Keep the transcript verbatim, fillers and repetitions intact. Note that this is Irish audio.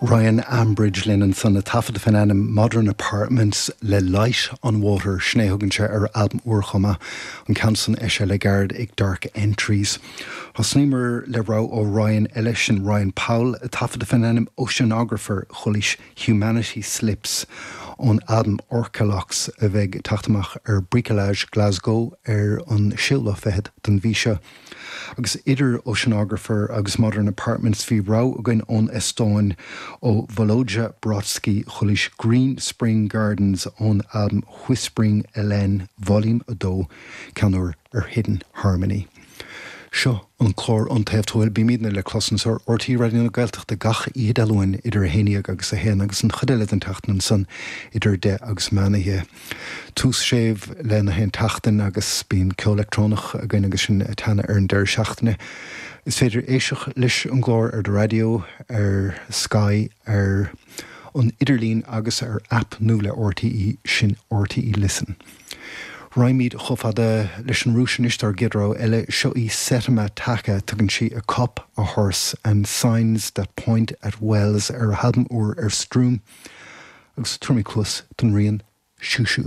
Ryan Ambridge linn ansan ag taifeadadh faoin ainm Modern Apartments le Light on Water sin é thugann sé ar albam úr chomh maith an ceann san eisithe le gairid ag Dark Entries. Thosnaíomar le rogha ó Ryan eile sin Ryan Powell ag taifeadadh faoin ainm Oceanographer chualaís Humanity Slips ón albam Orcalox a bheidh ag teacht amach ar Bricolage Glasgow ar an séú lá fichead den mhí seo. Agus idir Oceanographer agus Modern Apartments bhí rogha againn ón Eastóin ó Volodja Brodsky chualaís Green Spring Gardens ón albam Whispering LN Volume a dó ceann úr ar Hidden Harmony. Seo an clár An Taobh Tuathail bímidne le clos anseo ar RTÉ Raidió na Gaeltachta gach oíche Dé Luain idir a haon déag agus a haon agus an chuid eile den tseachtain ansan idir deich agus meán oíche. Tús séimh le na haon tseachtain agus bíonn ceol leictreonach againn agus sin ag teannadh ar an deireadh seachtaine. Is féidir éisteacht leis an gclár ar do raidió, ar Sky, ar an idirlíon agus ar app nua le RTÉ sin RTÉ Listen. Raghaimid chomh fada leis an Rúis anois dár gcéad rogha eile seo í Setema Taka tugann sí a cup a horse and signs that point at wells ar a halbam úr ar Stroom agus tabharfaimid cluas don rian Shushu.